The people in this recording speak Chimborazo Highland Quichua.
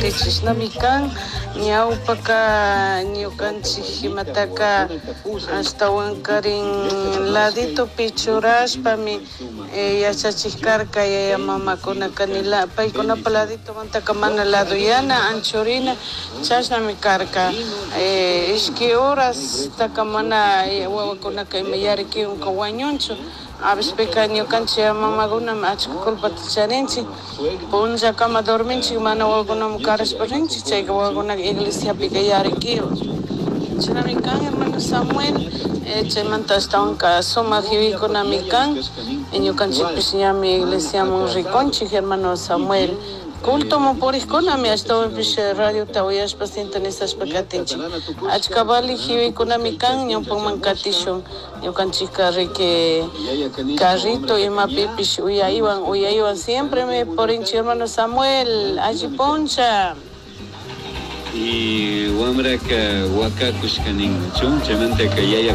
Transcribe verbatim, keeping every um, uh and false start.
Ari chishnami kan ñawpaka ñukanchik imataka ashtawankarin laditopi churashpami eh, yachachik karka yaya mamakunaka ni la paykunapa laditomantaka mana laduyana anchurina chashnami karka eh, ishki horastaka mana eh, wawakunaka ima yarikiwanka wañunchu a veces ñukanchik yaya mamakunami achka culpata charinchik punllakama dorminchik mana wawakunaman karashpa rinchik chayka wawakunaka iglesiapika yarikiwan chashnami kan hermano Samuel eh, chaymanta ashtawanka sumak yuyaykunami kan ñukanchikpish ñami iglesiaman rikunchik hermano Samuel cultoman purikkunami ashtawanpish radiota uyashpa sintonizashpa katinchik achka valik yuyaykunami kan ñawpaman katishun ñukanchikka riki carrito imapipish uyaywan uyaywan siempre me purinchik hermano Samuel alli puncha Y wamraka wakakushka nin, chaymantaka yaya